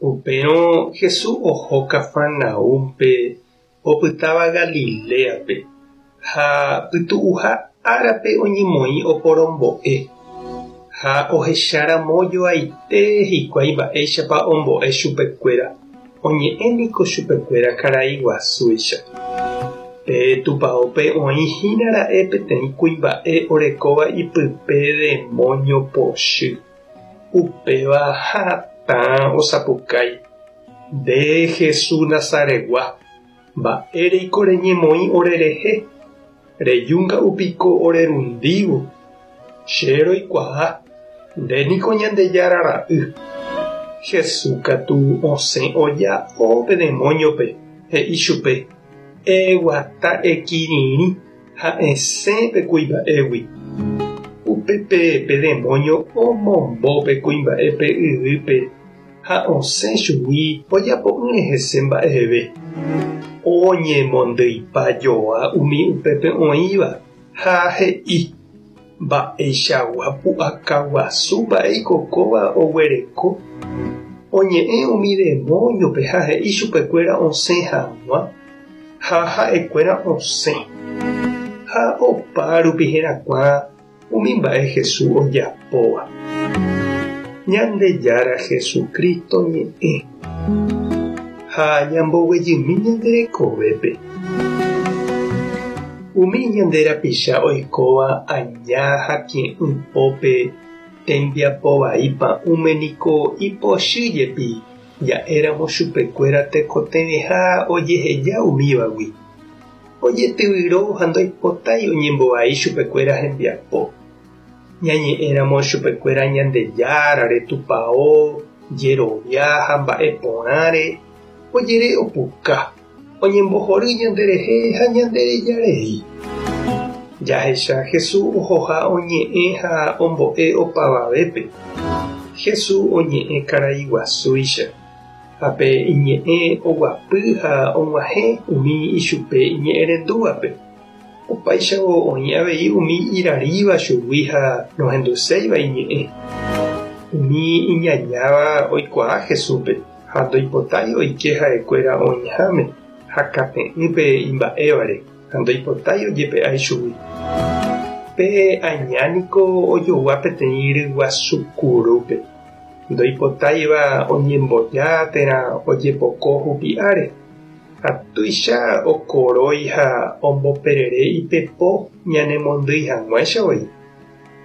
Upérõ Jesús oho Cafarnaúmpe, opytáva Galiléape, ha pytu'uha árape oñemoĩ oporombo'e. Ha ohecharamo joaite hikuái mba'éichapa ombo'e chupekuéra, oñe'ẽ niko chupekuéra karai guasúicha. Pe tupaópe oĩ hína ra'e peteĩ kuimba'e orekóva ipype demóño pochy. Upéva hatã osapukái, Nde Jesús Nazaretgua, mba'éreiko reñemoĩ orerehe? Reju nga'u piko orerundívo? Che roikuaa, nde niko Ñandejára Ra'y. Jesús katu osẽ oja'o pe demóñope, he'i chupe, Eguata ekirirĩ. Ha esẽ pe kuimba'égui. Upépe pe demóño omombo pe kuimba'épe yvýpe ha osẽ chugui ojapo'ỹre hese mba'eve. Oñemondyipa joa umi upépe oĩva ha he'i, Mba'eichagua pu'aka guasu mba'éiko kóva oguereko? Oñe'ẽ umi demóñope ha he'i chupekuéra osẽ hag̃ua. Ha ha'ekuéra osẽ, ha opa rupi herakuã umi mba'e Jesús ojapóva. Ñandejára Jesucristo ñe'ẽ. Ha ñamboguejymi ñande rekovépe. Umi ñande rapicha oikóva aña ha tie'ỹ pópe tembiapo vai pa'ũme niko ipochy jepi Ja'éramo chupekuéra tekotevẽha ojeheja umívagui, ojetyvyro ha ndoipotái oñembovai chupekuéra hembiapo. Ñañe'ẽramo chupekuéra Ñandejárare, tupao, jerovia ha mba'e porãre, ojere opuka, oñembohory ñanderehe ha ñandereja rei. Jahecha Jesús ohoha oñe'ẽ ha ombo'e opavavépe. Jesús oñe'ẽ karai guasúicha, ha pe iñe'ẽ oguapy ha og̃uahẽ umi ichupe iñe'ẽrendúvape. Opáichavo oĩ avei umi iraríva chugui ha nohenduséiva iñe'ẽ. Umi iñañáva oikuaa Jesúspe. Ha ndoipotái oike ha'ekuéra oĩháme ha kate'ỹ pe imba'évare, ha ndoipotái ojepe'a ichugui. Pe aña niko ojogua peteĩ ryguasu kurúpe, ndoipotáiva oñemboja térã ojepoko hupi'áre, ha tuicha okorói ha omboperere ipepo ñanemondýi hag̃uáicha voi.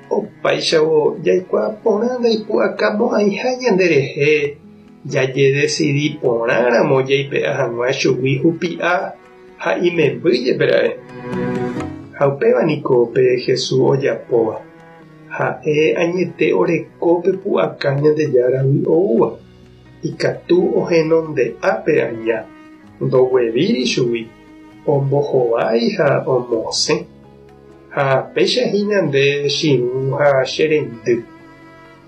Opáichavo jaikuaa porã ndaipu'akamo'ãiha ñanderehe jajedesidi porãramo jaipe'a hag̃ua chugui hupi'a ha imemby jepe ra'e. Ha upéva niko pe Jesús ojapóva. Ha'e añete oreko pe pu'aka Ñandejáragui oúva. Ikatu ohenonde'a pe aña, ndoguevíri chugui, ombohovái ha omosẽ. Ha péicha hína nde che irũ ha che reindy.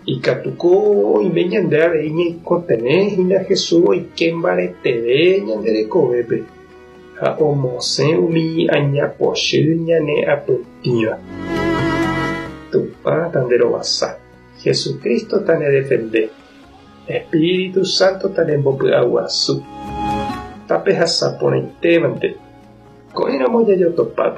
Ikatúko oime ñande avei ñaikotevẽ hína Jesús oike mbareteve ñande rekovépe ha omosẽ umi aña pochy ñane apytĩva. Tupã tanderovasa, Jesucristo tanedefende, Espíritu Santo tanembopy'aguasu. Tapehasa porãitévante. Ko'ẽramo jajotopáta.